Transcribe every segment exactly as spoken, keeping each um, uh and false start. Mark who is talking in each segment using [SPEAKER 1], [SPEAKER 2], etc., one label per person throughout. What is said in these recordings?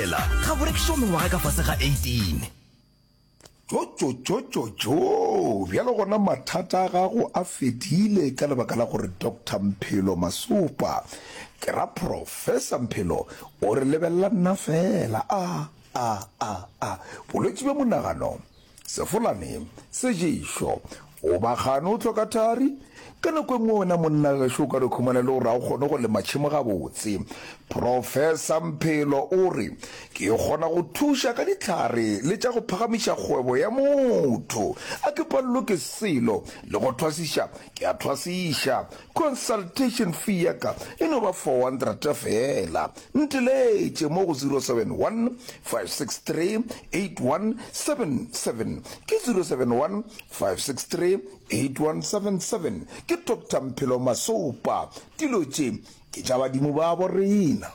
[SPEAKER 1] Thobela ga bo rekišwa mengwaga ka fase ga eighteen.
[SPEAKER 2] Tšotšotšotšotšo! Bjalo gona mathata a gago a fedile ka lebaka la gore Doctor Mphelo Masopa, ke ra Professor Mphelo, o re lebelela nna feela. A, a, a, a. Bolwetši bja monagano, sefolane, seješo, o ba gane o hloka thari? Ka nako e nngwe wena monna gešo o ka no khumana e le gore ga o kgone go lema tšhemo gabotse. Professor Mphelo o re, Ke kgona go thuša ka dihlare le tša go phagamiša kgwebo ya motho. A ke palelwe ke selo, le go thwasiša ke a thwasiša. Consultation fee ya ka e no ba four hundred feela. Nteletše mo go zero seven one, five six three, eight one seven seven. Ke zero seven one, five six three, eight one seven seven. Ke Doctor Mphelo Masopa. Dilo tše ke tša badimo babo rena.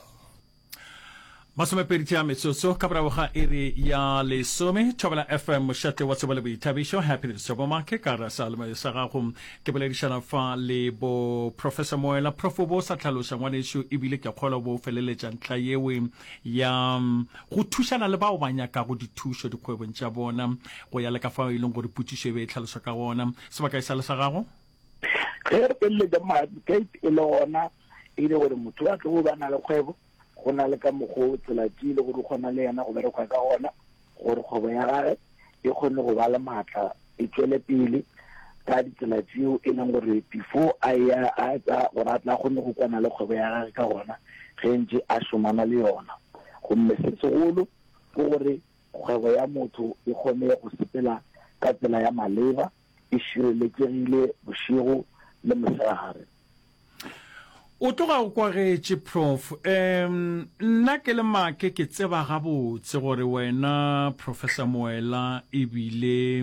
[SPEAKER 3] Masomepedi tša metsotso ka morago ga iri ya lesome, Thobela F M, mošate wa tsebo le boithabišo. Happiness Thabo Make ka gare seyalemoya sa gago. Ke boledišana fa le bo Professor Moela. Prof, o bo sa hlaloša ngwanešu, ebile ke kgolwa o bo feleletša ntlha yewe ya go thušana le bao ba nyakago dithušo dikgwebong tša bona, go ya le ka fao e leng gore potšišo e be e hlalošwa ka gona. Sebaka e sa le sa gago.
[SPEAKER 4] Ge re feleletša ma-advocate e le gona e le gore motho a tlo ba na le kgwebo, go na le ka mokgo tsela tše le gore o kgona le yena go bereka ka gona gore kgwebo ya gage e kgone go ba le maatla, e tšwele pele ka ditsela tšeo e leng gore before a ya a tsa gore a tla kgone go kwana le kgwebo ya gage ka gona ge ntše a šomana le yona. Gomme se segolo ke gore kgwebo ya motho e kgone go sepela ka tsela ya maleba, e šireletšegile bošego le mosegare.
[SPEAKER 3] O tloga o kwagetše, Prof. Um, nna ke le Make ke tseba gabotse gore wena, Professor Moela, ebile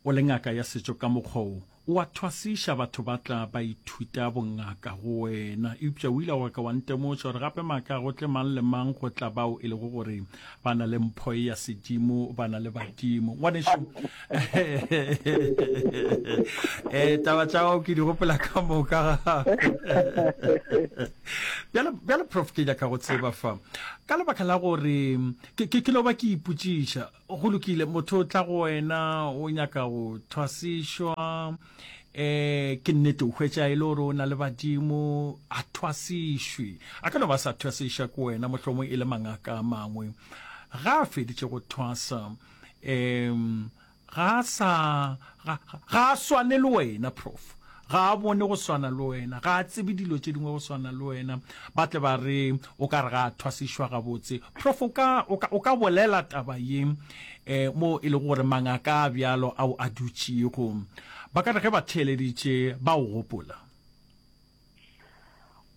[SPEAKER 3] o le ngaka ya setšo ka mokgwa wo, o a thwasiša batho ba tla ba ithuta bongaka go wena. Eupša o ile wa ka wa ntemoša gore gape Make ga go tle mang le mang, go tla bao e lego gore ba na le mpho ya sedimo, ba na le badimo. Ngwanešu, eh, taba tša gago ke di gopola ka moka gape. Bjale, bjale Prof, ke nyaka go tseba fa, ka lebaka la gore ke, ke, ke no ba ke ipotšiša, go lokile, motho o tla go wena o nyaka go thwasišwa, eh, ke nnete o hwetša e le gore o na le badimo, a thwasišwe, a ka no ba sa thwasiša ke wena, mohlomong e le mangaka a mangwe. Ga a feditše go thwasa, um ga a sa, ga, ga a swane le wena, Prof. Ga a bone go swana le wena, ga a tsebe dilo tše dingwe go swana le wena. Ba tle ba re o ka re ga a thwasišwa gabotse. Prof, o ka, o ka, o ka bolela taba ye, eh, mo e lego gore mangaka a bjalo ao a dutšego, ba ka re ge ba theeleditše ba o gopola?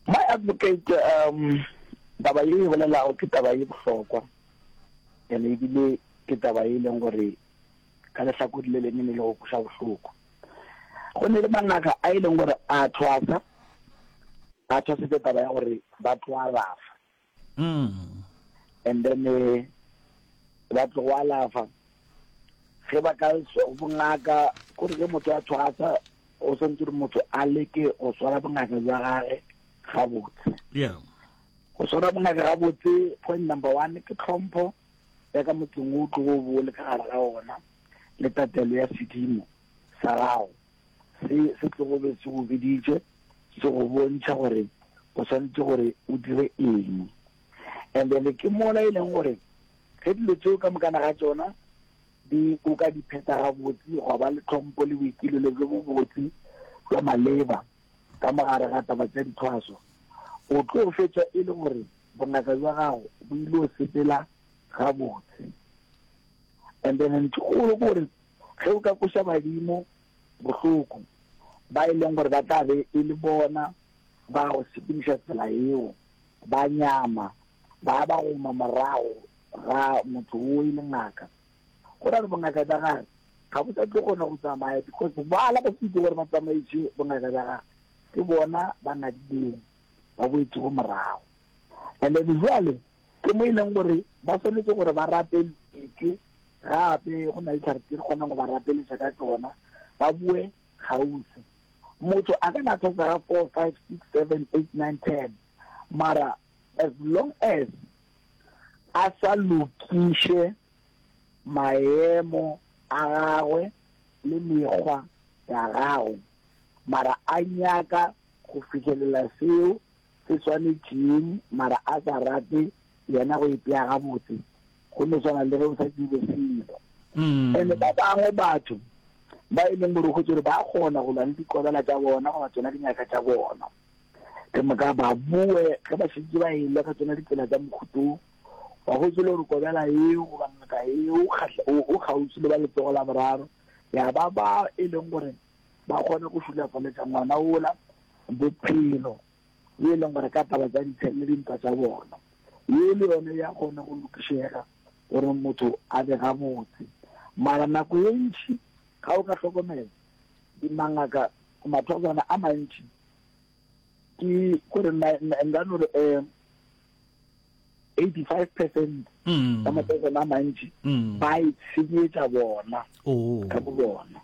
[SPEAKER 4] My advocate, um, taba ye e bolelago ke taba ye bohlokwa, and ebile ke taba ye e leng gore ka lehlakore le lengwe ne le go kweša bohloko. Go ne le mangaka a e leng gore a thwasa, a thwasetse taba ya gore ba tlo alafa.
[SPEAKER 3] Mm.
[SPEAKER 4] And then, eh, ba tlo go alafa. Ge ba ka bongaka, kore ge motho a thwasa, o swantse gore motho a leke go swara bongaka bja gage gabotse.
[SPEAKER 3] Yeah.
[SPEAKER 4] Go swara bongaka gabotse, point number one ke tlhompho ya ka motseng o tlogo bo le ka gare ga ona, le tatelo ya sedimo sa gago se se tlogo be se go biditše, se go bontšha gore o swanetše gore o dire eng. And then ke mola e leng gore ge dilo tseo ka mokana ga tšona di o ka di phetha gabotse, gwa ba le tlhompho le boikilelo bjo bobotse bja maleba ka mogare ga taba tša dithwaso, o tlo fetša e le gore bongaka bja gago bo ile go sepela gabotse. And then ntho kgolo ke gore ge o ka koša badimo bohloko ba e leng gore ba tla be e le bona ba go sepediša tsela yeo, ba nyama, ba ba goma morago ga motho o e le ngaka, go ra gore bongaka bja gage ga bo sa tlo kgona go tsamaya, because ba la ba se itse gore ba tsamaiše bongaka bja gage, ke bona ba nadileng, ba boetšego morago. And then jwale ke mo e leng gore ba swanetše gore ba rapeletše gape, go na le dihlare tse di kgonang go ba rapeletša ka tšona, ba boe kgauswi. Motho a ka na thwasa ga four, five, six, seven, eight, nine, ten, mara as long as a sa lokiše maemo a gagwe le mekgwa ya gagwe, mara a nyaka go fihlelela seo se swanetšeng mara a sa rate yena go ipea gabotse, go no swana le ge o sa dire selo. And ba bangwe batho ba e leng gore o hwetše gore ba kgona go lwa le dikobela tša bona goba tšona dingaka tša bona, ke moka ba boe ge ba šetše ba elwa ka tšona ditsela tša mohuto, wa hwetše le gore kobela eo goba ngaka eo o kgauswi le ba letsogo la boraro, ya ba ba e leng gore ba kgone go šulafaletša ngwana ola bophelo, ye e leng gore ka taba tša ditšhelete le dintwa tša bona, ye le yone ya kgona go lokišega gore motho a be gabotse. Mara nako ye ntši ga o ka hlokomela dimangaka mathozana a mantši ke gore nka no re um eighty-five percent ka mathozana a mantši ba itshenyetša bona ka bo bona.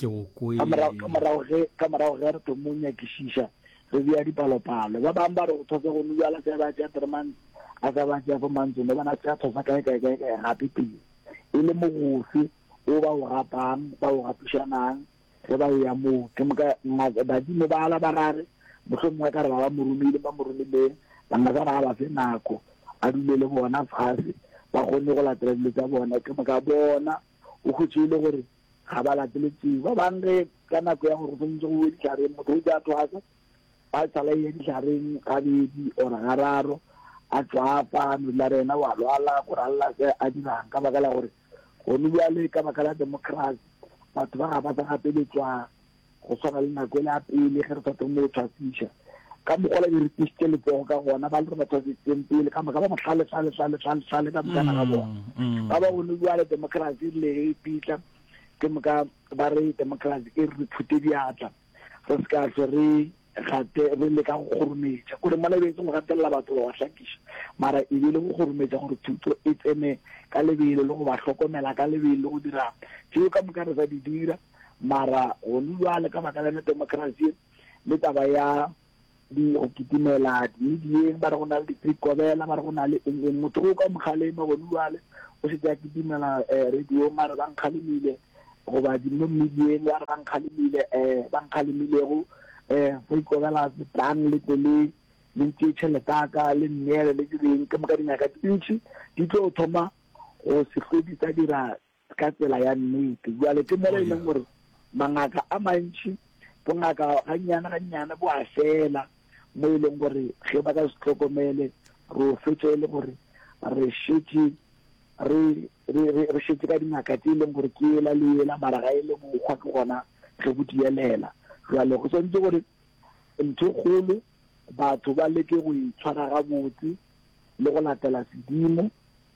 [SPEAKER 3] Ke go kwele.
[SPEAKER 4] Ka morago, ka morago ge, ka morago ge re thomo nyakišiša, re bea dipalopalo. Ba bangwe ba re go thosa go nwa se ba tšea three months, a sa ba tšea four months, no bona tšea thosa kae, kae, kae, kae, gape pele. E le mogofe o ba o gapang, ba o gapišanang, ge ba ya moo. Ke moka ngaka, badimo ba ala ba rare, mohlomongwe ka re ba ba mo romile, ba mo romileng, bangaka ba ba fe nako, a dule le bona fase, ba kgone go latela dilo tša bona. Ke moka bona, o hwetše e le gore ga ba latele tseo. Ba bangwe ge ka nako ya gore go swanetše go uwe dihlhareng, motho o tla thwasa, ba sala ye dihlhareng gabedi or gararo, a tšwafa, a no dula re yena wa lwala, gore a lla se a dirang, ka baka la gore gone bjale ka baka la democracy batho ba ga ba sa gapeletšwa go swana le nako e le ya pele ge re sa thome go thwasiša. Ka mokgwa la di re tlišitše letsogo ka gona, ba le re ba thwasitseng pele, ka moka ba mohlale, hlale, hlale, hlale, hlale, ka mokana ga bona. Ba ba gone bjale democracy e rile ge e pitla, ke moka ba re democracy e re re phute diatla, re se ka hlwe re gate re leka go kgorometša. Kore mola e be e se go gatelela batho ba ba hlakiša, mara e be le go kgorometša gore thuto e tsene ka lebelo le go ba hlokomela ka lebelo le go dira tšeo ka moka re sa di dira. Mara gone bjale ka baka la yona democracy le taba ya di go kitimela di-medieng, ba re go na le di-free-kobela, ba re go na le eng eng, motho o ka mo kgalema gone bjale o šetše a kitimela, eh, radiong a re ba nkgalemile, goba di mo medieng ba re ba nkgalemile, eh, ba nkgalemilego, eh, free-kobela tlang le tle le, le ntšee tšhelete ya ka, le nneele, le direng. Ke moka dingaka tše dintši di tlo thoma go se hlwe di sa dira ka tsela ya nnete. Bjale ke mola e leng gore mangaka a mantši, bongaka gannyane gannyane bo a fela, mo e leng gore ge ba ka se hlokomele, re o fetša e le gore re šetše re, re, re, re šetše ka dingaka tše e leng gore ke ela le ela, mara ga e le bokgwa ke gona ge bo dielela. Jwale go swanetše gore ntho e kgolo batho ba leke go itshwara gabotse le go latela sedimo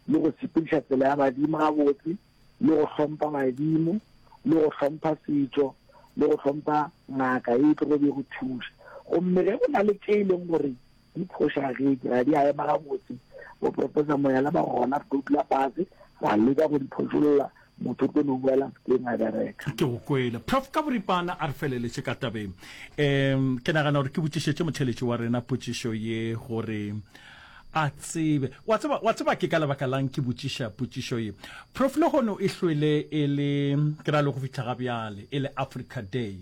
[SPEAKER 4] le go sepediša tsela ya badimo gabotse le go hlompha badimo le go hlompha setšo le go hlompha ngaka e tlogo be go thuša. Gomme ge go na le tše e leng gore di phošagetše, ga di a ema gabotse, bo Professor Moyala ba gona, re tlo dula fase ra leka go di phošolla, motho o tlo no boela sekeng a bereka.
[SPEAKER 3] Ke go kwele. Prof. Ka boripana a re feleletše ka tabeng. Um ke nagana gore ke botšišetše motheeletši wa rena potšišo ye gore a tsebe. Wa tseba, wa tseba ke ka lebaka lang ke botšiša potšišo ye? Prof. Lehono e hlwele e le, ke ra le go fihla ga bjale, e le Africa Day.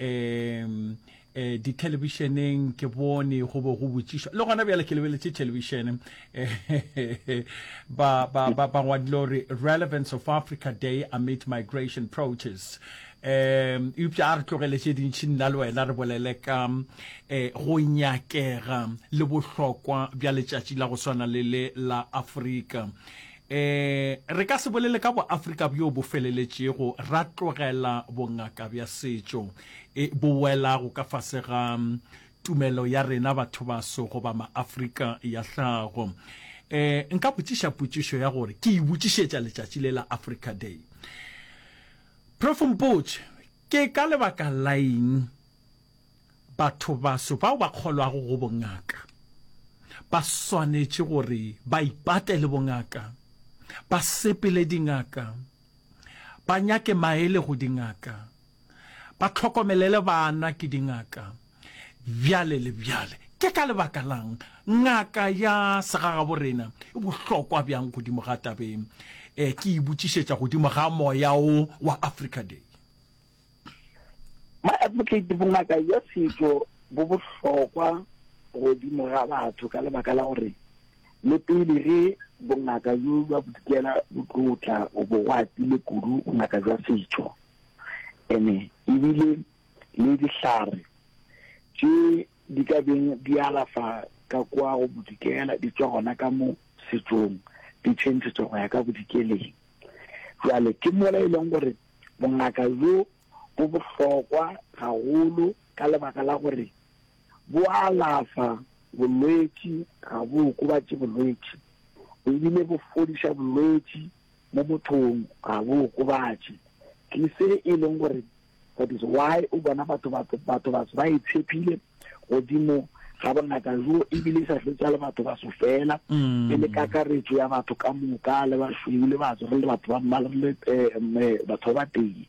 [SPEAKER 3] Um eh, dithelebišeneng ke bone go bo go botšišwa, le gona bjale ke lebeletše thelebišene, eh, ba, ba, ba, ba ngwadile gore relevance of Africa Day amid migration protests. Um eupša a re tlogele tše dintši, nna le wena re bolele ka eh, go nyakega le bohlokwa bja letšatši la go swana le le la Afrika. Eh, re ka se bolele ka boAfrika bjo bo feleletšego ra tlogela bongaka bja setšo e bo welago ka fase ga tumelo ya rena batho baso goba maAfrika ya hlago. Eh, nka botšiša potšišo ya gore ke e botšišetša letšatši le la Africa Day. Prof mpotše, ke ka lebaka la eng batho baso bao ba kgolwago go bongaka ba swanetše gore ba ipate le bongaka, ba sepele dingaka, ba nyake maele go dingaka, ba hlokomelele bana ke dingaka, bjale le bjale? Ke ka lebaka la'ng ngaka ya segagaborena e bohlokwa bjang godimo ga tabeng e? Ke e botšišetša godimo ga moya wo wa Africa Day.
[SPEAKER 4] My advocate, bongaka bja setšo bo bohlokwa godimo ga batho ka lebaka la gore le pele ge bongaka bjo bja bodikela bo tlo tla, go bo go atile kudu bongaka bja setšo. Ene ebile le dihlare tše di ka beng di alafa ka kwa go bodikela di tšwa gona ka mo setšong, di tšhentšhetšwa go ya ka bodikeleng. Bjale ke mola e leng gore bongaka bjo bo bohlokwa gagolo ka lebaka la gore bo alafa bolwetši, ga bo okobatše bolwetši, ebile bo fodiša bolwetši mo mothong, ga bo okobatše. Ke se e leng gore that is why o bona batho batho batho batho ba itshepile godimo ga bongaka jo, ebile e sa hlwetša le batho baso fela, e le kakaretšo ya batho ka moka, le bašweu le batso, re le batho ba mmala, re le eh, batho ba batee,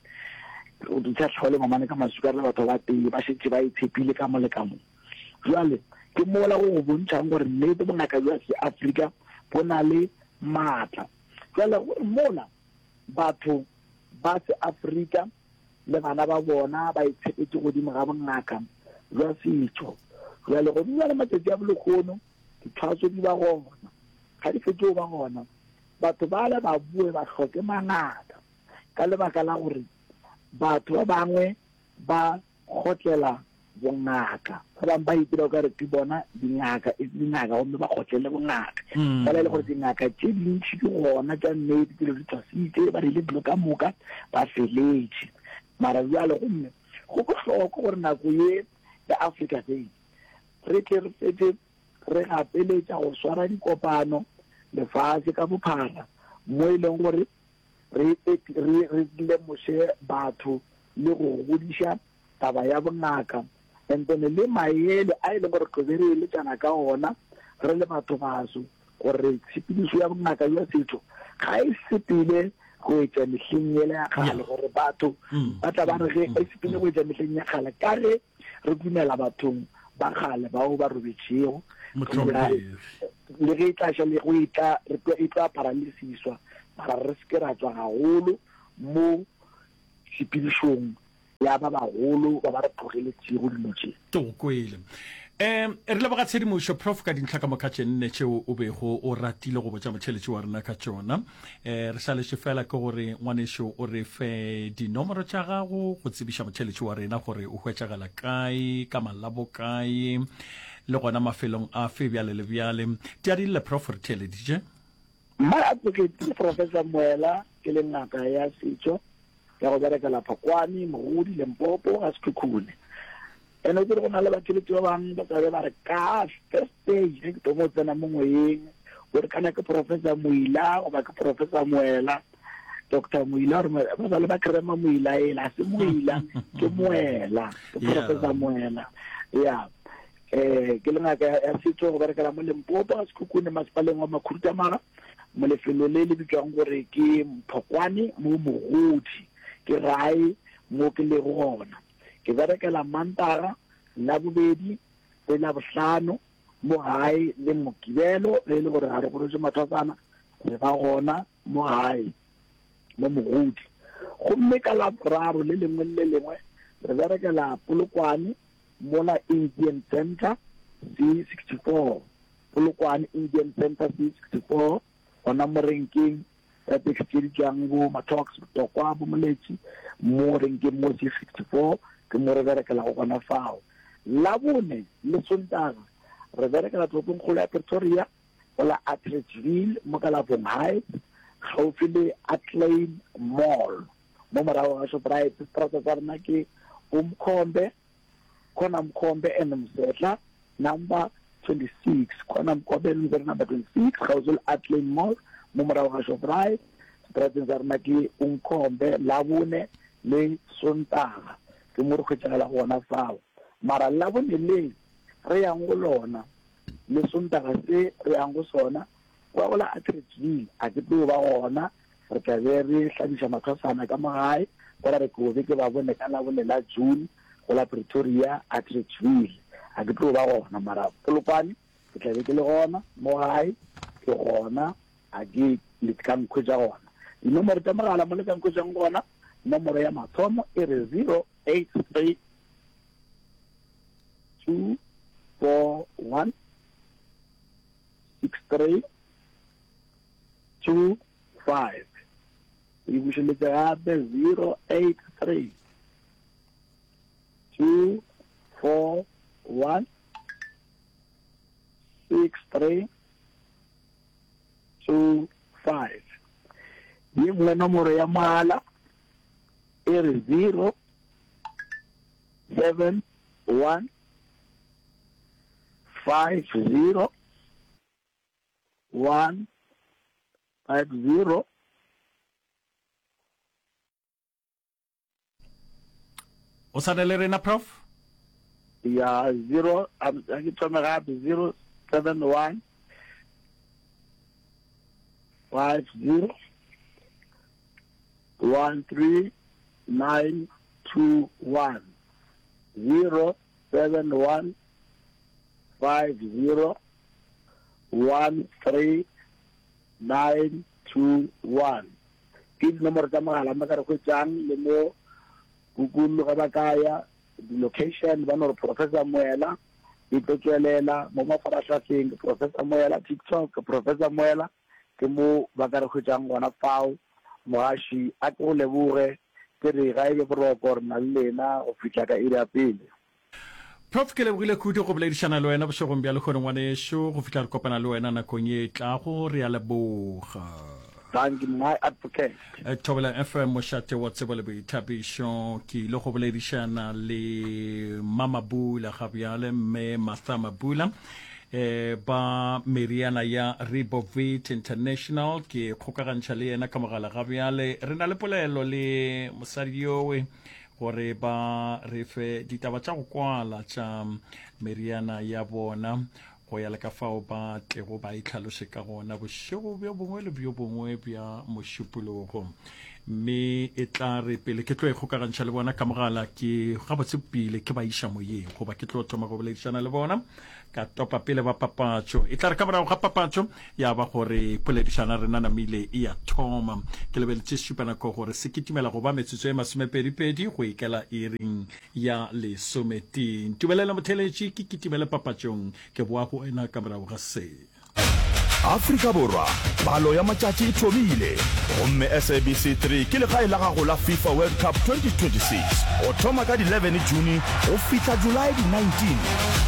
[SPEAKER 4] sa tlhole mamane ka masuka, re le batho ba batee, ba šetše ba itshepile ka mo le ka mo. Jwale ke mola go go bontšhang gore nnete bongaka bja Seafrika bo na le maatla. Jwale gore mola batho ba Seafrika le bana ba bona ba itshepetše godimo ga bongaka bja setšo, jwale godimo bjale matšatši a bolekgono dithwaso di ba gona, ga di fetše go ba gona, batho bale ba boe ba hloke mangaka ka lebaka la gore batho ba bangwe ba kgotlela bongaka, ba bangwe ba itira o ka re ke bona dingaka, e se dingaka, gomme ba kgotlele bongaka. Fela e le gore dingaka tše dintši ke gona tša nnete, tše di thwasitše, ba rile dilo ka moka, ba feletše. Mara bjale gomme go bohlokwa gore nako ye ya Africa Day re tle re fetše re gapeletša go swara dikopano lefase ka bophara, mo e leng gore re re re lemoše batho le go godiša taba ya bongaka, and then le maele a e leng gore tlo be re eletšana ka ona re le batho baso, gore tshepedišo ya bongaka bja setšo ga e sepele go etša mehleng yela ya kgale, gore batho ba tla ba re ge e sepele go etša mehleng ya kgale, ka ge re dumela bathong ba kgale bao ba robetšego, le ge e tla ša le go e tla re tlo e tlo apara le siswa, mara re se ke ra tšwa gagolo mo tshepedišong ya ba bagolo ba ba re tlogeletšego dilo tše.
[SPEAKER 3] Ke go kwele. Um re leboga tshedimošo Prof ka dintlha ka moka tše nne tšeo o bego o ratile go botša motšheletši wa rena ka tšona. Um re šaletše fela ke gore ngwanešo o re fe dinomoro tša gago go tsebiša motšheletši wa rena gore o hwetšagala kae, ka malabo kae, le gona mafelong afe bjale le bjale. Tiadille Prof, re theeleditše.
[SPEAKER 4] My advocate ke Professor Moela, ke le ngaka ya setšo ya go berekela Phokwane, Mogodi, Limpopo, ga Sekhukhune. Ene o tsere go na le batheletši ba bangwe ba tlabe ba re ka first day ge ke thoma go tsena mo moyeng, o re kana ke Professor Moila goba ke Professor Moela, Doctor Moila, gore ba sa le ba krema Moila ela, ga se Moila, ke Moela, ke Professor Moela. Ya eh ke le ngaka ya setšo go berekela mo Limpopo ga Sekhukhune, masepaleng wa Makhuduthamaga, mo lefelo le le bitswang gore ke Phokwane mo Mogodi, ke gae mo ke lego gona. Ke berekela Mantaga, Labobedi le Labohlano mo gae, le Mokibelo ge e le gore ga re gorotše mathwasana, re ba gona mo gae mo Mogodi. Gomme ka Laboraro le lengwe le lengwe re berekela Polokwane mola Indian Center C sixty-four, Polokwane Indian Center C sixty-four, gona mo renkeng ya taxi tše di tšwang bo Matox, Botokwa, bo Moletši, mo renkeng mo C sixty-four ke mo re berekelago gona fao. Labone le Sontaga re berekela toropongkgolo ya Pretoria go la Atteridgeville mo Kalafong Heights, gaufi le Atlein Mall mo morago ga Shoprite. Seterata sa rena ke Umkhombe, Khona Mkhombe and Msetla number twenty-six, Khona Mkhombe and Msetla number twenty-six, gaufi le Atlein Mall mo morago ga Shoprite. Seterateng sa rena ke Umkhombe, Labone le Sontaga ke mo re hwetšagala gona fao. Mara Labone le re yang go lona le Sontaga se re yang go sona kwa go la Atteridgeville a ke tlo ba gona, re tla be re hlabiša mathwasana ka mo gae, gora re ke be ke ba bone ka Labone la June go la Pretoria Atteridgeville. ga ke tlo ba gona, mara Polokwane ke tla be ke le gona, mo gae ke gona, a ke le ka nkhwetša gona. Dinomoro tša mogala mo le ka nkhwetšang gona, nomoro ya mathomo e re zero eight three two four one six three two five. E bušeletše gape zero eight three two four one six three two five. Ye nngwe nomoro ya mogala e re zero seven one five zero one five zero.
[SPEAKER 3] O sa na le rena, Prof?
[SPEAKER 4] Ya, zero, a ke thome gape, zero seven one five zero one three nine two one. Zero seven one five zero one three nine two one. Ke dinomoro tša mogala mo ka re hwetšang le mo Google ge ba ka ya di-location ba no re Professor Moela e tlo tšwelela mo mafarahlahleng, ke Professor Moela TikTok, ke Professor Moela, ke mo ba ka re hwetšang gona fao. Mogaši a ke go leboge, ke re ga e be boroko re na le lena go fihla ka iri ya pele.
[SPEAKER 3] Prof, ke lebogile kudu go boledišana le wena bošegong bja lehono ngwanešu, go fihla re kopana le wena nakong ye e tlago, re a leboga.
[SPEAKER 4] Thank you, my advocate.
[SPEAKER 3] Thobela F M, mošate wa tsebo le boithabišo. Ke ile go boledišana le Mama Bula ga bjale, mme Martha Mabula, eh, ba meriana ya Rebovit International. Ke kgokagantšha le yena ka mogala ga bjale. Re na le polelo le mosadi yowe gore ba re fe ditaba tša go kwala tša meriana ya bona, go ya le ka fao ba tlego ba itlhalose ka gona bošego bjo bongwe le bjo bongwe bja mošupologo. Mme e tla re pele ke tlo e kgokagantšha le bona ka mogala, ke gabotse pele ke ba iša moyeng, goba ke tlo thoma go boledišana le bona ka topa pele ba papatšo. E tla re ka morago ga papatšo ya ba gore poledišana rena namile e ya thoma. Ke lebeletše šupanako gore se kitimela go ba metsotso e masomepedipedi go ikela iring ya lesometee. Ntumelela motheletši ke kitimele papatšong, ke boa go wena ka morago ga se.
[SPEAKER 1] Afrika Borwa, palo ya matšatši e thomile, gomme S A B C three ke legae la gago la FIFA World Cup twenty twenty-six go thoma ka di eleven June go fihla July di nineteen.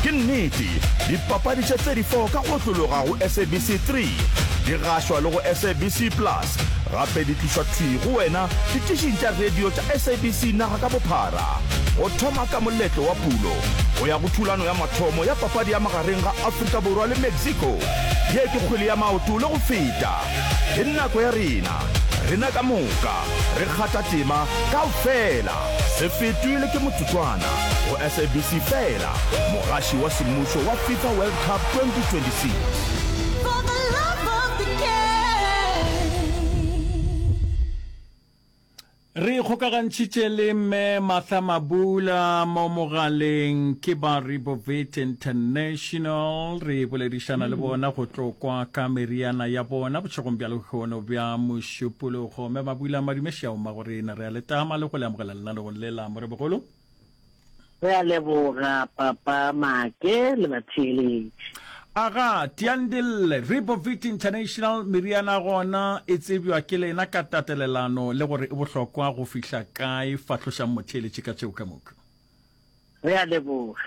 [SPEAKER 1] Ke nnete, dipapadi tše thirty-four ka go otlologa go S A B C three di gašwa le go S A B C Plus, gape di tlišwa thwi go wena ditišing tša radio tša S A B C naga ka bophara. Go thoma ka moletlo wa pulo go ya go thulano ya mathomo ya papadi ya magareng ga Afrika Borwa le Mexico, ye ke kgwele ya maoto le go feta. Ke nako ya rena, rena ka moka, re kgatha tema kaofela. Se fetwe le ke motsotswana go S A B C fela, mogaši wa semmušo wa FIFA World Cup twenty twenty-six.
[SPEAKER 5] For the love of the game.
[SPEAKER 3] Re kgokagantšhitše le mme Martha Mabula mo mogaleng ke ba Rebovit International. Re boledišana le bona go tlo kwa ka meriana ya bona bošegong bja lehono bja mošupologo. Mme Mabula, madume šiao mmago rena, re a letama le go le amogela lenaneong le la Morebogolo.
[SPEAKER 6] Re a leboga papa Make le batheeletši.
[SPEAKER 3] Aga, Tiandille, Rebovit International meriana gona e tsebjwa ke lena ka tatelelano le gore e bohlokwa go fihla kae? Fahlošang motheeletši ka tšeo ka moka.
[SPEAKER 6] Re a leboga.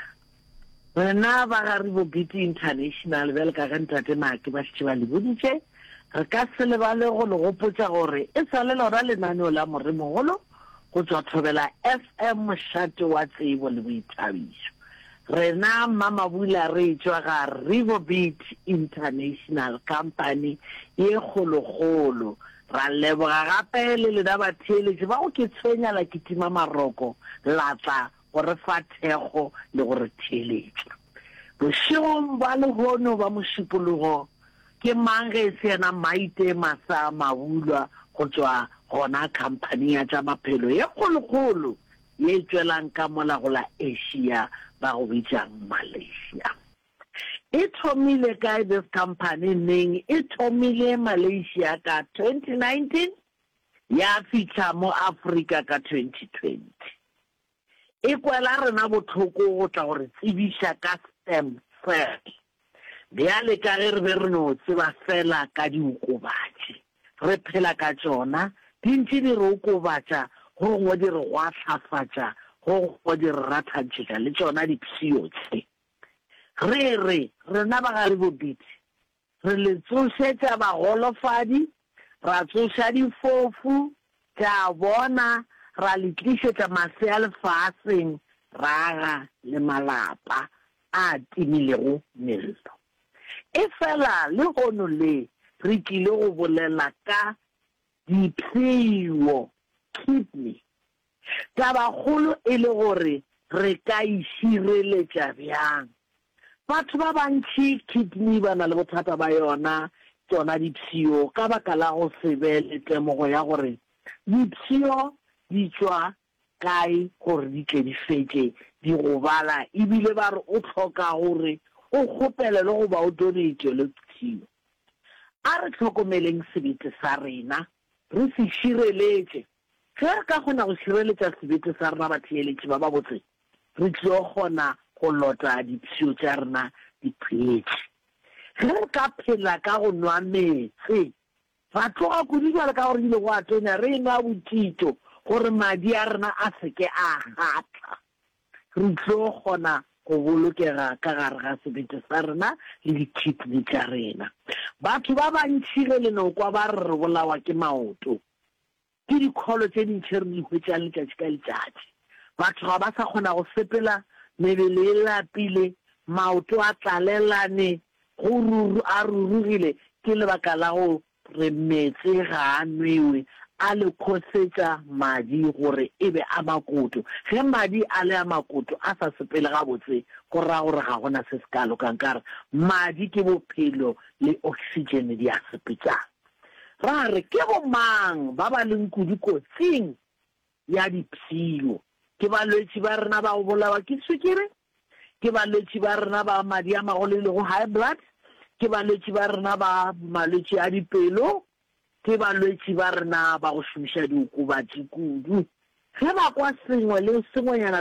[SPEAKER 6] Rena ba ga Rebovit International bjalo ka ge ntate Make ba šetše ba le boditše, re ka se lebale go le gopotša gore e sa le lona lenaneo la Moremogolo go tšwa Thobela F M, mošate wa tsebo le boithabišo. Rena Mamabula re tšwa ga Rebovit International Company ye kgolokgolo. Ra leboga gape le lena batheeletši ba go ke tshwenya la kitima maroko la tla go re fa thekgo le go re theeletša. Bošegong ba lehono ba mošupologo ke mang ge e se yena Maite Masa Mabulwa go tšwa gona khamphani ya tša maphelo ye kgolokgolo ye e tšwelang ka mola go la Asia ba go bitšang Malaysia. E thomile kae this company neng? E thomile Malaysia ka twenty nineteen ya fihla mo Afrika ka twenty twenty. E kwela rena bohloko go tla go re tsebiša ka stem cell. Bjale ka ge re be re no tseba fela ka diokobatši, re phela ka tšona, di ntše di re okobatša, go gongwe di re gwahlafatša, go gongwe di re rathantšhetša le tšona dipshio tše. Re re, rena ba ga Rebobiti, re le tsošetša bagolofadi, ra tsoša difofu, tša bona, ra le tlišetša masea lefaseng, ra aga le malapa a timilego mello. Efela lehono le re tlile go bolela ka dipshio, kidney. Tabakgolo e le gore re ka e šireletša bjang. Batho ba bantši kidney ba na le bothata ba yona, tšona dipshio, ka baka la go se be le temogo ya gore dipshio di tšwa kae gore di tle di fetše di gobala, ebile ba re o hloka gore o kgopelelwe goba o donate-elwe pshio. A re hlokomeleng sebete sa rena, re se šireletše. Ge re ka kgona go šireletša sebete sa rena, batheeletši ba babotse, re tlo kgona go lota dipshio tša rena di phetše. Ge re ka phela ka go nwa meetse, ra tloga kudu bjalo ka gore ebile go a tonya, re enwa botito gore madi a rena a se ke a gatla, re tlo kgona go bolokega ka gare ga sebete sa rena le di-kidney tša rena. Batho ba bantši ge le no kwa ba re re bolawa ke maoto, ke dikholo tše dintši re di hwetšang letšatši ka letšatši. Batho ga ba sa kgona go sepela, mebele e lapile, maoto a tlalelane, go ruru, a rurugile, ke lebaka la go re meetse ga a nwewe, a le khosetša madi gore e be a makoto. Ge madi a le a makoto a sa sepele gabotse, go ra gore ga go na se se ka lokang, ka gore madi ke bophelo le oksitšene di a sepetšana. Ra re ke bomang ba ba leng kudu kotsing ya dipshio? Ke balwetši ba rena ba go bolawa ke swikiri, ke balwetši ba rena ba madi a magolo e lego high blood, ke balwetši ba rena ba malwetši a dipelo, ke balwetši ba rena ba go šomiša diokobatši kudu. Ge ba kwa sengwe le sengwenyana